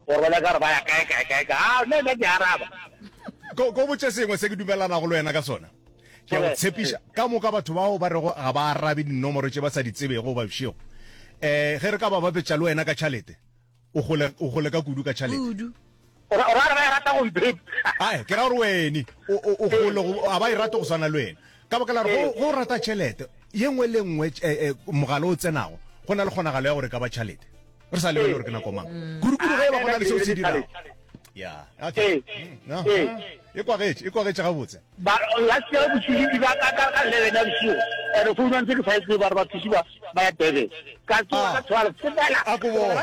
Gore ba nyaka gore ba ya kae kae kae kae. Ah, nna nna ke araba. Ko ko botše sengwe se ke dumelanago le wena ka sona. Ke a go tshepiša, ka moka batho bao ba rego ga ba arabe dinomoro tše ba sa di tsebego goba bošego, um ge re ka ba bapetša le wena ka tšhalete, o gole, o gole ka kudu ka tšhalete. Kudu. O ra o ra gore ba e rata go mpheta. Ae, ke ra gore wene o, o, o gole, go, ga ba e rate go swana le wena. Ka baka la gore go, go rata tšhelete, ye nngwe le nngwe, eh, eh, mogala o tsenago, go na le kgonagalo ya gore e ka ba tšhalete. Re sa lebele gore ke nako mang. Kudu-kudu ge e ba go na le seo se dirago. Ya, okay. No, e kwagetše, e kwagetše gabotse. Ba, last year bosigo ke ba ka ka ka 11 ya bosigo. Ene phone ya ntse ke sa e tsebe ba re bathusi ba ba ya Durban. Ka tsoga ka 12 sepela. A ko bone.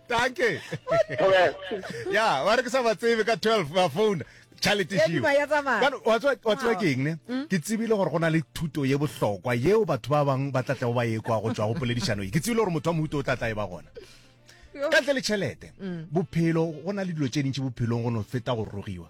Danke. Ya, ba re ke sa ba tsebe ka 12 ba phone. Tšhalete Ya šio. duma ya tsamaya. Bjale, wa tseba wa tseba ke eng ne? Ke tsebile gore go na le thuto ye bohlokwa yeo batho ba bang ba tla tlago ba ekwa go tšwa go poledišano ye. Ke tsebile gore motho wa mohuta o tla tla e ba gona. Ka ntle le tšhelete, bophelo go na le dilo tše dintši bophelong go no feta go rogiwa.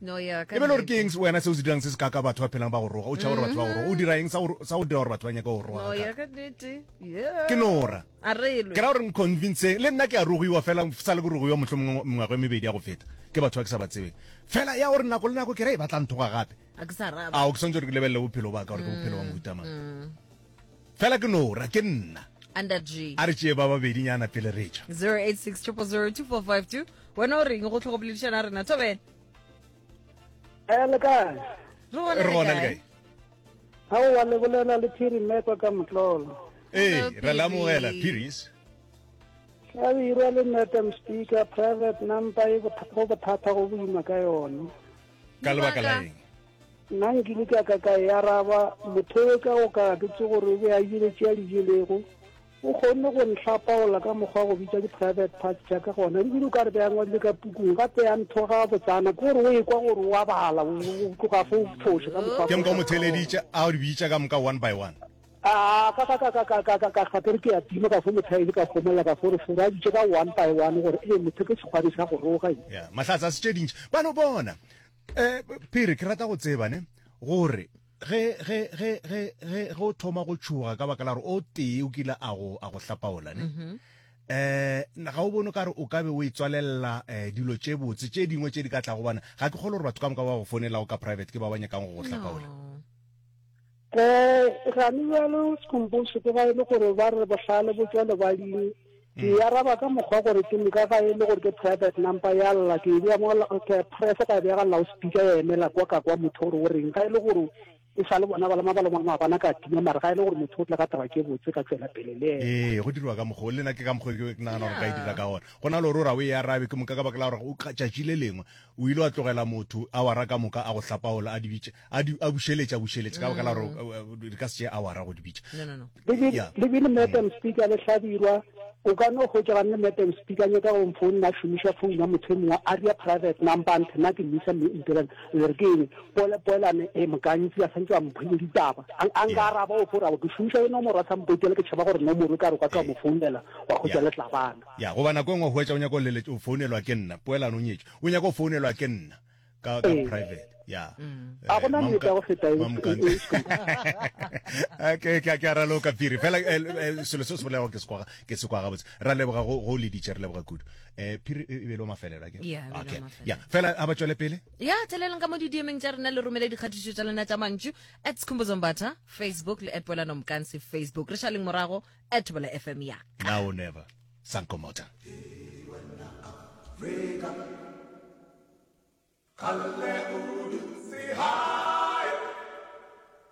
No, yeah, ka E be le gore ke nnete. eng wena seo se dirang se se kaka batho ba phelang ba go roga? O tšhaba gore batho ba go roga. O dira eng sa go sa go dira gore batho ba nyake go roga No, kaka? yeah, ka nnete. Yeah. Ke nora. A re lwe. Ke ra gore nconvince le nna ke a rogiwa fela sa le ke rogiwa mohlomongwe mengwaga e mebedi ya go feta ke batho ba ke sa ba tsebeng. Fela ya gore nako le nako ke re ba tla nthoga gape. A ke sa raba. Ao ke swantse gore ke lebelele bophelo ba ka gore ke bophelo ba mohuta mang. Fela ke nora ke nna. Under G. A re tšee ba babedinyana pele re tšwa. 086 000 2452. Wena o reng go tlhogo boledišana rena Thobela? Eh, le kae? Re gona Re gona le kae? Aowa, le bolela le Phiri Mmekwa ka Motlolo. Ee, re la amogela Phiris. Hlabirwa le Madam Speaker, private number e go bothata go boima ka yone. Ka lebaka la eng? Nna nkile ka ka ka e araba, motho yo ka go ka ke tse gore o be a jele tše a di jelego. O kgonne go nhlapaola ka mokgwa wa go bitša di-private parts tša ka gona, ebile o ka re be a ngwadile ka pukung, gape a nthoga botsana, ke gore o ekwa gore o a bala, o tloga fo o foša ka mokgwa Ke moka o mo theeleditše a di bitša ka moka one by one. A ka ka ka ka ka ka ka ka gape re ke a tima ka fo mothaedi ka gomolla ka fo re fo a bitše ka one by one gore ee motho ke sekgwari sa go roga. Ya, mahlatse a se tše dintši. Ba no bona. Eh, Phiri, ke rata go tseba ne gore ge ge ge ge ge ge o thoma go tšhoga ka baka la gore o tee o kile a go a go hlapaola ne mm-hmm. eh ga o bone ka re o ka be o e tswalelela eh, dilo tše botse tše dingwe tše di ka tlago bana ga ke kgole gore batho ka moka ba go founelago ka private ke ba ba nyakang go go hlapaola um gane bjalo sekomposo ke ga e le gore ba re bohlale bo tswa lebading Ke e araba ka mokgwa gore ke moka ga e le gore ke private number ya lla, ke e bea mo ke press ka e bea ga loudspeaker ya emela kwa ka kwa motho gore o reng. Ga e le gore e sa le bona ba le mabala maabana ka tima, mara ga e le gore motho o tla ka taba ke botse ka tšwela pele le yena. Ee, go diriwa ka mokgwa o, le nna ke ka mokgwa o ke nagana gore ka e dira ka gona. Go na le gore o ra o e arabe ke moka ka baka la gore o ka tšatši le lengwe o ile wa tlogela motho awara ka moka a go hlapaola a di bitša a di a bušeletša bušeletša ka baka la gore di ka se tšee awara go di bitša. No, no, no. Yeah. Le bile Madam Speaker le Hlabirwa o ka no hwetša ga nne Madam Speaker nyaka go mfounna a šomiša phone ya motho e mongwe a ria private number nthe nna ke mmisa ntirang le re ke eng poele poelane e mokantsi a santse a mphile ditaba a nka araba o fora ke šomiša e nomoro a sa mpotele ke tšhaba gore nomoro e ka re o ka tloga mo founela wa hwetša le tlabana. Ya goba nako e nngwe o hwetša o nyaka o leletša o founelwa ke nna poelano o nyetše o nyaka o founelwa ke nna ka ka private ya a gona nnete ya go feta eo ke ke ke a raloka phiri fela eh, eh, selo se se bolelago ke se kwa ke se kwa gabotse ra leboga go go leditše re leboga kudu eh phiri e be le mafelelo ke Yeah, e be le okay mafelelo. ya fela a ba tšwele pele ya theleleng ka mo di-dmeng tša rena le romele dikgatišo tša lena tša mantšu at Skhumbuzo Mbatha facebook le at Poelano Mkansi facebook re šaleng morago at Thobela fm ya now or never sankomota Afrika.